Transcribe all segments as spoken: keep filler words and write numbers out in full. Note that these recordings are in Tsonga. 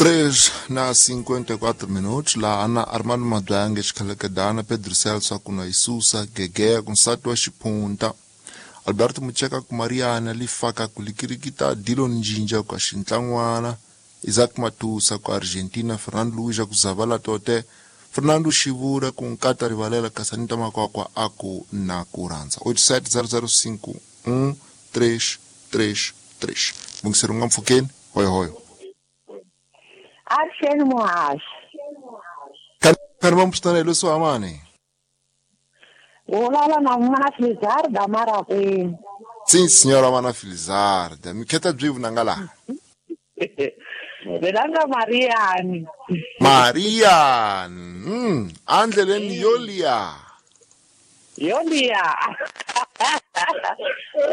Três na cinquenta e quatro minutos la ana Armando Madwange xikhalekedana Pedro Celso kuna Isusa Gegea ku nsati wa Xiphunta Alberto Mucheka ku Mariana Lifaka ku Likirikita Dillon Njinja ku Xintlan'wana Isaac Matusa ku Argentina Fernando Luiz ku Zavala Tote Fernando Xivura ku Nkata Rivalela Kasanita Makwakwa aku na ku rhandza oito sete zero zero cinco um três três três. Mungisero nga mpfhukeni hoyo hoyo. Avuxeni muhaxi. Kani va mpfutana leswi amani. Vulavula na Mana Filizarda Marakwini. Sim, senhora Mana Filizarda. Mi kheta byi vunanga laha. Velanga Mariani. Mariani. Mm, andleleni yolia. Yolia.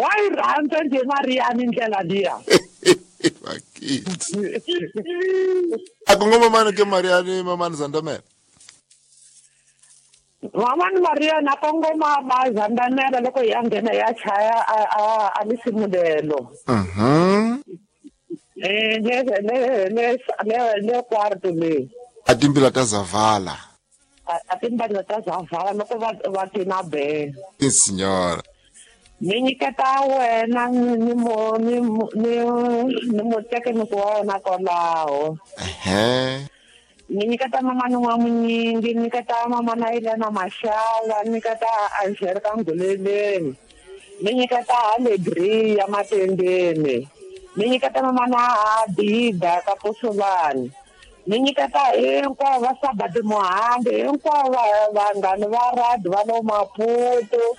Wa yi rhandza nje Mariani ndlela liya. Vakiti. Akongoma mani ke Mariani mamani Zandamela. Mamani Mariani akongoma ba Zandamela loko ya nghena ya chaya a a a lisimulelo. Mhm. Eh ne ne ne ne ne quarto le. A timbila ta Zavala. A timbila ta Zavala loko va va tina be. Sim senhora. Ni nyiketa wena ni mo ni ni ni mutekiniki wa wena kwalaho. Ehe. Ni nyiketa mama n'wa Munyingi, ni nyiketa mama na Elena Mashala, ni nyiketa Angelica Nguleleni, ni nyiketa Alegria Matendeni, ni nyiketa mama na Abida Kapusulani, ni nyiketa hinkwavo va Sabati Muhambi, hinkwavo vanghani va radi va lo Maputo.